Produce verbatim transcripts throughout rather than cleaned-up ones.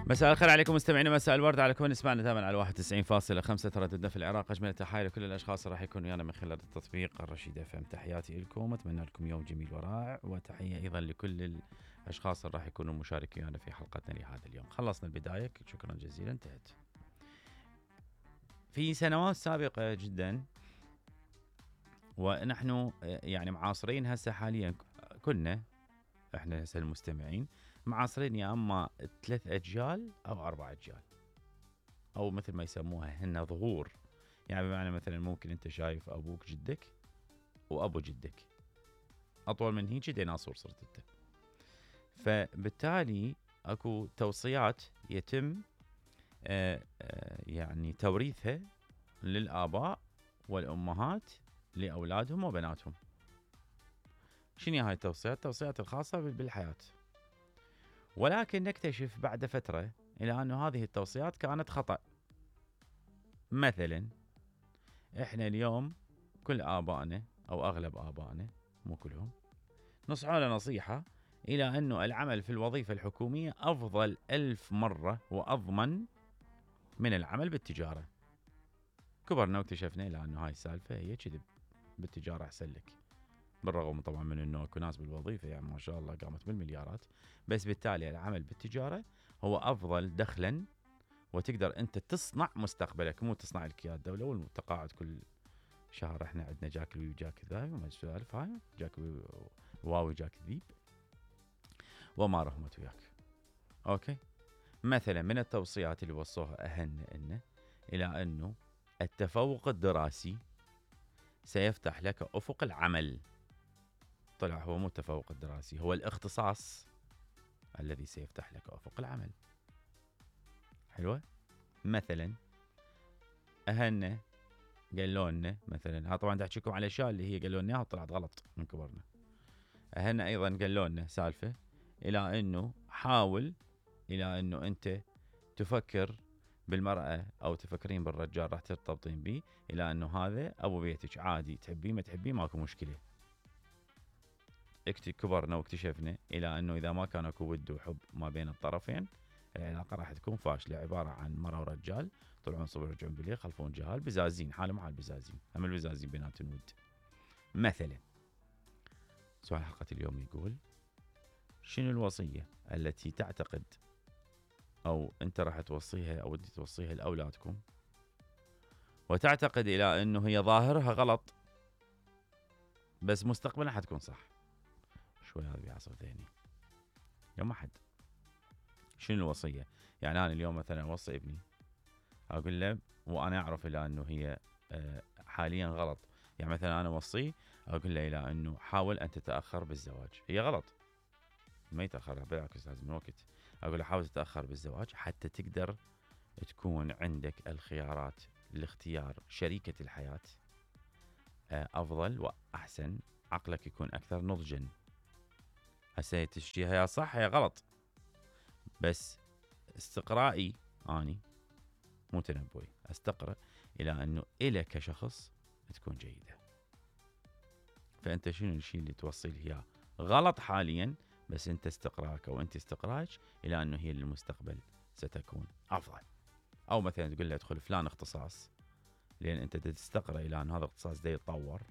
مساء الخير عليكم مستمعينا، مساء الورد على كل نسمعنا دائما على واحد وتسعين فاصلة خمسة ترددنا في العراق. اجمل التحايا لكل الاشخاص اللي راح يكونوا ويانا من خلال التطبيق الرشيد اف ام. تحياتي لكم، اتمنى لكم يوم جميل ورائع، وتحيه ايضا لكل الاشخاص اللي راح يكونوا مشاركين ويانا في حلقتنا لهذا اليوم. خلصنا البدايه، شكرا جزيلا، انتهت. في سنوات سابقه جدا ونحن يعني معاصرين هسه حاليا، كنا احنا هسه المستمعين معاصرين يا اما ثلاث اجيال او اربع اجيال، او مثل ما يسموها هن ظهور. يعني بمعنى مثلا ممكن انت شايف ابوك جدك وابو جدك، اطول من هيك ديناصور صرت انت. فبالتالي اكو توصيات يتم آآ آآ يعني توريثها للاباء والامهات لاولادهم وبناتهم. شنو هاي التوصيات؟ التوصيات الخاصه بالحياه. ولكن نكتشف بعد فترة إلى أن هذه التوصيات كانت خطأ. مثلا إحنا اليوم كل آبائنا أو أغلب آبائنا، مو كلهم، نصحوا نصيحة إلى أنه العمل في الوظيفة الحكومية أفضل ألف مرة وأضمن من العمل بالتجارة. كبرنا واكتشفنا إلى أنه هاي السالفة هي كذب، بالتجارة أحسن لك. بالرغم طبعا من انه اكو ناس بالوظيفه يعني ما شاء الله قامت بالمليارات، بس بالتالي العمل بالتجاره هو افضل دخلا، وتقدر انت تصنع مستقبلك، مو تصنع لك يا الدوله والتقاعد كل شهر. احنا عندنا جاك الوي وجاك الذهب وما السوالف هاي، جاك واو جاك ذيب وما رحمت وياك. اوكي، مثلا من التوصيات اللي وصوها اهلنا انه الى انه التفوق الدراسي سيفتح لك افق العمل. طلع هو مو التفوق الدراسي، هو الاختصاص الذي سيفتح لك افق العمل. حلوه. مثلا اهلنا قالوا لنا مثلا، ها طبعا دا احكيكم على الاشياء اللي هي قالوا لنا اياها وطلعت غلط من كبرنا. اهلنا ايضا قالوا لنا سالفه الى انه حاول الى انه انت تفكر بالمراه او تفكرين بالرجال راح ترتبطين به، الى انه هذا ابو بيتك عادي، تحبيه ما تحبيه ماكو مشكله. كبرنا واكتشفنا الى انه اذا ما كان اكو ود وحب ما بين الطرفين العلاقه راح تكون فاشله، عباره عن مرة ورجال طلعون صبح يرجعون بالليل يخلفون جهال بزازين، حالهم حال بزازين، هم البزازين بينات ود. مثلا سؤال حلقه اليوم يقول: شنو الوصيه التي تعتقد او انت راح توصيها او ودي توصيها لاولادكم وتعتقد الى انه هي ظاهرها غلط بس مستقبلا حتكون صح؟ شوي هذا بيعصر ذهني يوم احد. شنو الوصيه؟ يعني انا اليوم مثلا اوصي ابني، اقول له وانا اعرف الى انه هي حاليا غلط. يعني مثلا انا اوصيه اقول له الى انه حاول ان تتاخر بالزواج. هي غلط، ما يتاخر، بالعكس لازم وقت. اقول له حاول تتاخر بالزواج حتى تقدر تكون عندك الخيارات لاختيار شريكه الحياه افضل واحسن، عقلك يكون اكثر نضجا. هسه تشتيها يا صح يا غلط، بس استقرائي اني مو تنبؤي، استقرأ الى انه الك كشخص تكون جيده. فانت شنو الشيء اللي توصي له اياه غلط حاليا، بس انت استقرارك او انت استقرارك الى انه هي للمستقبل ستكون افضل. او مثلا تقول له ادخل فلان اختصاص لان انت تستقرأ الى ان هذا الاختصاص ده يتطور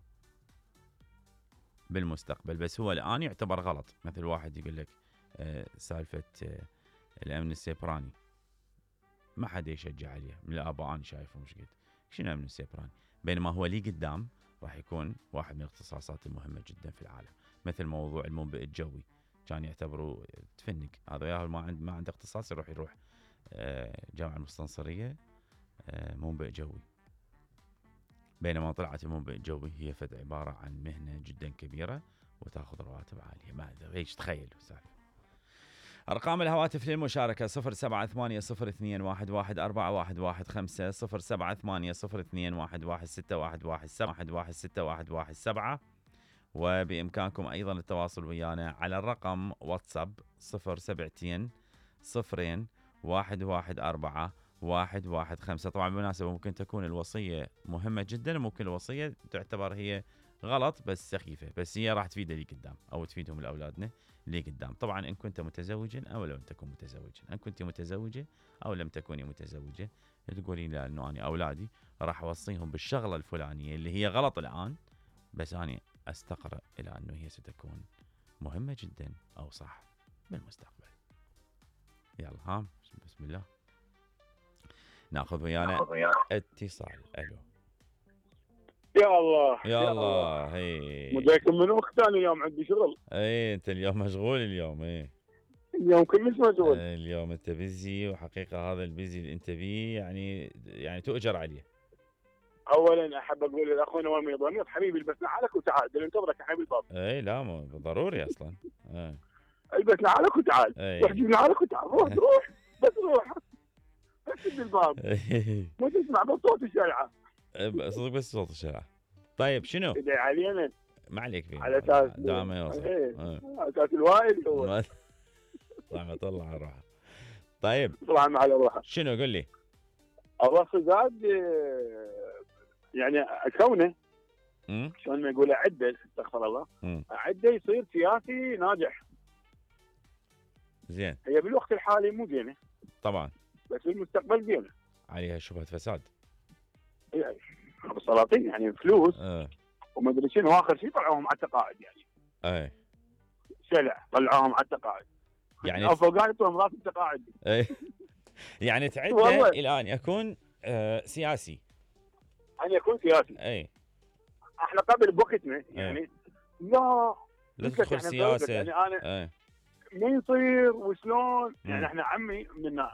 بالمستقبل، بس هو الان يعتبر غلط. مثل واحد يقول لك آه سالفه آه الامن السيبراني، ما حد يشجع عليه من الاباء، انا شايفه مش قد شنو الامن السيبراني، بينما هو لي قدام راح يكون واحد من الاختصاصات المهمه جدا في العالم. مثل موضوع المنبئ الجوي، كان يعتبروا تفنق هذا، يا ما عنده ما عنده اختصاص يروح يروح آه جامعه المستنصريه آه منبئ جوي، بينما طلعت المنبئ الجوي هي فد عباره عن مهنه جدا كبيره وتاخذ رواتب عاليه. ما ادري ايش تخيل سالفه. أرقام الهواتف للمشاركة: صفر سبعة ثمانية صفر اثنين واحد واحد أربعة واحد واحد خمسة، صفر سبعة ثمانية صفر اثنين واحد واحد ستة واحد واحد سبعة واحد واحد ستة واحد واحد سبعة. وبإمكانكم أيضا التواصل ويانا على الرقم واتساب صفر سبعتين صفرين واحد واحد أربعة واحد واحد خمسة. طبعا بالمناسبة ممكن تكون الوصية مهمة جدا، ممكن الوصية تعتبر هي غلط بس سخيفه، بس هي راح تفيده لي قدام او تفيدهم لاولادنا لي قدام. طبعا ان كنت متزوجا او لم تكن متزوجا، ان كنت متزوجه او لم تكوني متزوجه، تقولين لا انه انا اولادي راح اوصيهم بالشغله الفلانيه اللي هي غلط الان، بس انا استقرأ الى انه هي ستكون مهمه جدا او صح بالمستقبل. يلا ها بسم الله ناخذ ويانا اتصال. الو يا الله يا الله. هي مجاكم من اخت انا اليوم عندي شغل. اي انت اليوم مشغول اليوم. اي اليوم كلش مشغول. اي اليوم انت بيزي، وحقيقه هذا البيزي اللي انت بيه يعني يعني تؤجر عليه. اولا احب اقول لاخونا ولمي ضمير حبيبي البس نعالك وتعال، انتظرك يا حبيبي الباب. اي لا مو ضروري اصلا. اي البس نعالك وتعال، روح جيب نعالك وتعال، روح روح بس روح بس تدي الباب مو تسمع بس صوت الشارع. صدق بس صوت الشارع. طيب شنو؟ ادعي علينا. ما عليك فيه على اساس دام ما يوصل. على اساس الوائل هو رحمة الله على روحه. طيب طبعا على روحه. شنو قل لي؟ الله زاد يعني كونه شلون ما يقول اعده استغفر الله اعده يصير سياسي ناجح. زين. هي بالوقت الحالي مو زينه طبعا، بس بالمستقبل زينه. عليها شبهه فساد. يعني السلاطين يعني فلوس اه وما ادري شنو، اخر شيء طلعوهم على التقاعد يعني. اي سلع طلعوهم على التقاعد يعني افوق يعطوهم راس التقاعد. اي يعني تعده الان يكون آه سياسي. ان يكون سياسي. اي احنا قبل بوقتنا يعني لا لا تدخل سياسه يعني انا اي ما يصير وشلون يعني. احنا عمي من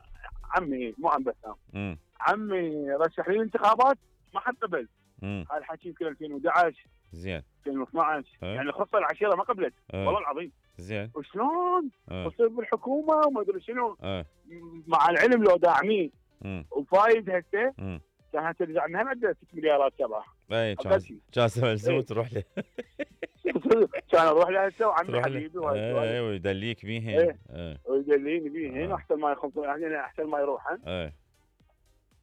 عمي مو عم بسام عمي رشح لي الانتخابات ما حد قبل. هذا الحكي يمكن ألفين وأحد عشر زين ألفين واثني عشر أه؟ يعني خصه العشيره ما قبلت. أه؟ والله العظيم. زين وشلون؟ أه؟ وصير بالحكومه وما ادري شنو. أه؟ مع العلم لو داعمين وفايد هسه كانت ترجع لنا عنده ست مليارات شباب. اي كان ملزوم تروح له. كان اروح له هسه وعمي حبيبي اي ويدليك بيهن. اي ويدليني بيهن احسن ما يخلصون يعني احسن ما يروحن. اي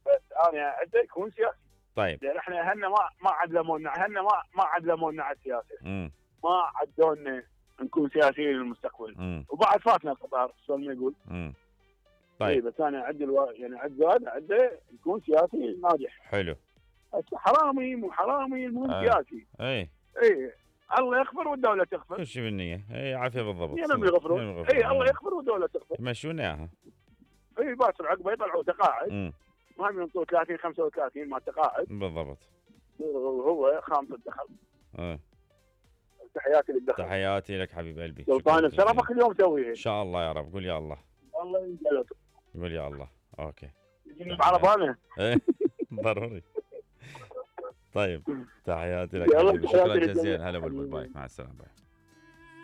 بس انا عنده يكون سياسي. طيب لان احنا اهلنا ما ما علمونا اهلنا ما ما علمونا على السياسه. امم ما عدونا نكون سياسيين للمستقبل. مم. وبعد فاتنا القطار شلون ما يقول. امم طيب بس انا عندي الو... يعني عند زاد عنده يكون سياسي ناجح. حلو. حرامي مو حرامي المهم آه. سياسي. اي اي الله يغفر والدوله تغفر. كل شيء بالنيه. اي عافيه بالضبط. ينم يغفرون. اي الله يغفر والدوله تغفر. يمشون اياها. اي باكر عقبه يطلعوا تقاعد. المهم ينطوا ثلاثين خمسة وثلاثين مع التقاعد. بالضبط. وهو خامس الدخل. اه تحياتي للدخل. تحياتي لك حبيب قلبي. سلطان بشرفك اليوم سويها. ان شاء الله يا رب. قول يا الله. الله يجعلك. قول يا الله. اوكي. يجيني بعربانه. ضروري. طيب تحياتي لك. شكرا جزيلا. هلا بالباي. مع السلامه. باي.